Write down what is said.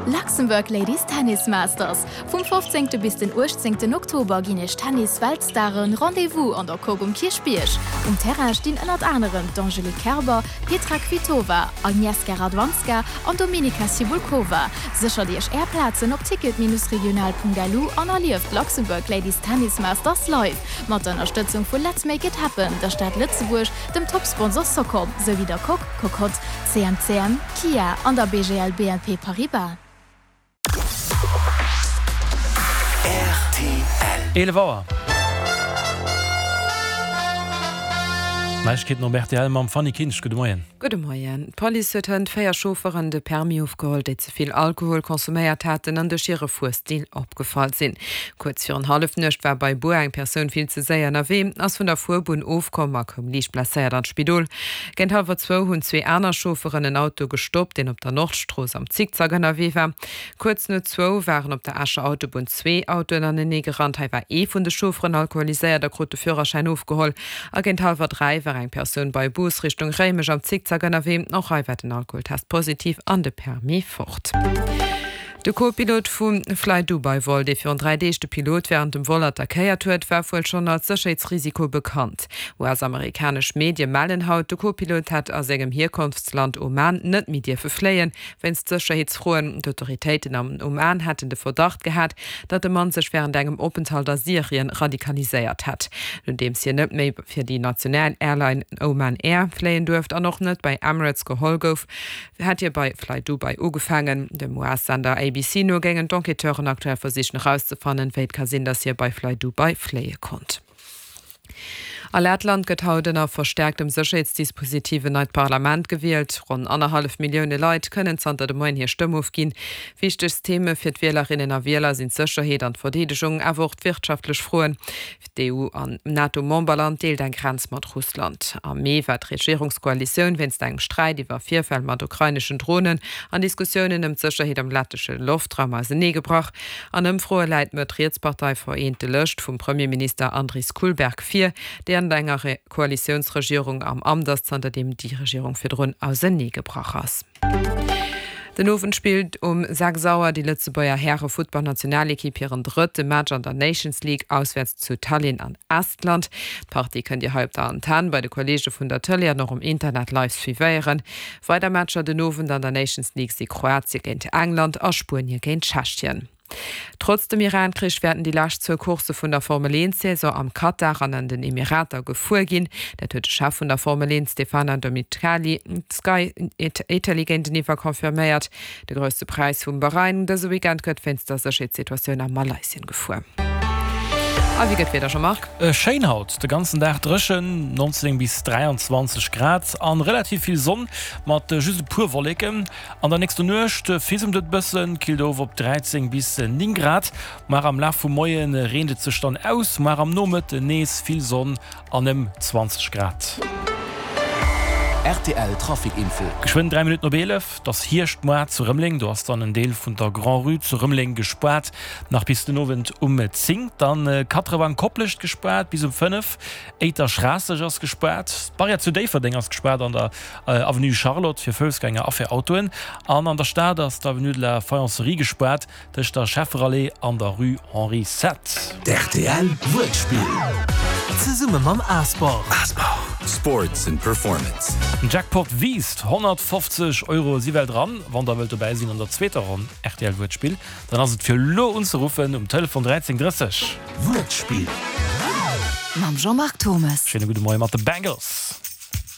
Luxembourg Ladies Tennis Masters, Vum 15. Bis den 18. Oktober ginn Iech Tennis-Weltstaren Rendez-vous an der Coque um Kierchbierg. Um Terrain stinn ënnert anerem d'Angelique Kerber, Petra Kvitova, Agnieszka Radwanska an Dominika Cibulkova. Séchert Iech Är Plazen op ticket-regional.lu an erlieft d'Luxembourg Ladies Tennis Masters live! Mat der Ënnerstëtzung vu Let's Make It Happen, der Stad Lëtzebuerg, dem Top-Sponsor Socom, souwéi der Coque, Cocotte, CMCM, Kia an der BGL BNP Paribas. Rtl. 11 Auer. Neiegkeeten op rtl mam Fanny Kinsch. Gudde Moien. Gudde Moien. D'Police huet hënt 4 Chaufferen de Permis ofgeholl, déi ze vill Alkohol consomméiert haten an duerch hire Fuerstil opgefall sinn. Kuerz virun Hallefnuecht war bei Bur eng Persoun vill ze séier ënnerwee, ass vun der Fuerbunn ofkomm a koum liicht blesséiert an d'Spidol. Géint hallwer zwou hunn zwee aner Chaufferen en Auto gestoppt, deen op der Nordstrooss am Zickzack ënnerwee war. Kuerz no zwou waren op der Escher Autobunn zwee Autoen anenee gerannt. Hei war ee vun de Chaufferen alkoholiséiert a krut de Führerschäin ofgeholl. A géint hallwer 3 war eng Persoun bei Bus Richtung Réimech am Zickzack ënnerwee. Och hei war den Alkoholtest positiv an de Permis fort. De Co-Pilot vu Flydubai-Vol, dee virun 3 Deeg de Pilot wärend dem Vol attackéiert huet, war wuel schonn als Sécherheetsrisiko bekannt. US-amerikanesch Medie mellen haut, de Co-Pilot hätt a sengem Hierkonftsland Oman net méi dierfe fléien, wéinst Sécherheetsfroen. D'Autoritéiten am Oman hätten de Verdacht gehat, datt de Mann sech wärend engem Openthalt a Syrien radikaliséiert hätt. Nodeems hien net méi fir déi national Airline Oman Air fléien duerft an och net bei Emirates geholl gouf, hätt hie bei Flydubai ugefaangen. Dem US-Sender ABC no géingen d'Enquêteuren aktuell versichen erauszefannen, wéi et ka sinn, datt hie bei Flydubai fléie konnt. A Lettland gëtt haut ënner verstäerktem Sécherheetsdispositif en neit Parlament gewielt. Ronn annerhallef Millioune Leit kënnen zanter de Moien hir Stëmm ofginn. Wichtegst Theme fir d'Wielerinnen a Wieler sinn d'Sécherheet an d'Verdeedegung, awer och d'wirtschaftlech Froen. D'EU an NATO-Memberland deelt eng Grenz mat Russland. Am Mee war d'Regierungskoalitioun wéinst engem Sträit iwwer Virfäll mat ukraineschen Dronen an Diskussiounen ëm d'Sécherheet am lettesche Loftraum auseneegebrach. An Ëmfroe läit d'Mëtt-Riets-Partei Vereente Lëscht vum Premierminister Andris Kulberg vir, déi an enger Koalitiounsregierung am Amt ass, zanterdeem déi Regierung virdrun auseneegebrach ass. Den Owend spillt um 6 Auer déi Lëtzebuerger Häre-Futtballnationalekipp hiren drëtte Match an der Nations League auswäerts zu Tallinn an Estland. D'Partie kënnt Dir hei op der Antenn, bei de Kolleege vun der Tëlee an och um Internet live suivéieren. Weider Matcher den Owend an der Nations League si Kroatie géint England a Spuenie géint Tschechien. Trotz dem Iran-Krich wäerten déi lescht zwou Coursse vun der Formel-Eent-Saison am Katar an an den Emirater gefuer ginn. Dat huet de Chef vun der Formel 1 Stefano Domenicali Sky Italy géinteniwwer confirméiert. De Grousse Präis vum Bahrain dëse Weekend gëtt wéinst der Sécherheetssituatioun a Malaysien gefuer. A wéi gëtt d'Wieder, Jean-Marc? Schéin haut, de ganzen Dag dréchen, 19 bis 23 Grad an relativ vill Sonn mat just e puer Wolleken. An der nächster Nuecht fisemt et bëssen, killt of op 13 bis 9 Grad. Mar am Laf vum Moie reent et sech dann aus, mar am Nomëtten nees vill Sonn an ëm 20 Grad. Rtl Trafic Info. Geschwënn 3 Minutten op 11, et ass Hierschtmoart zu Rëmeleng. Do ass dann en Deel vun der Grand-Rue zu Rëmeleng gespaart, nach bis den Owend um 10. Dann Katrewang Koplescht gespaart bis um 5. Éiter-Schraasseg ass gespaart. D'Barrière zu Déifferdeng ass gespaart an der Avenue Charlotte fir Foussgänger a fir Autoen. An an der Stad ass d'Avenue de la Faïencerie gespaart tëscht der Schefferallée an der Rue Henri Sept. D'RTL Wuertspill zesumme mam Asport. Sports and Performance. Den Jackpot wiisst, 150 Euro si well dran. Wann der wëllt dobäi sinn an der zweeter Ronn rtl Wuertspill, dann ass et fir elo unzeruffen um Telefon 13 30. Wuertspill. Mam Jean-Marc Thommes. Schéine gudde Moie mat de Bengals.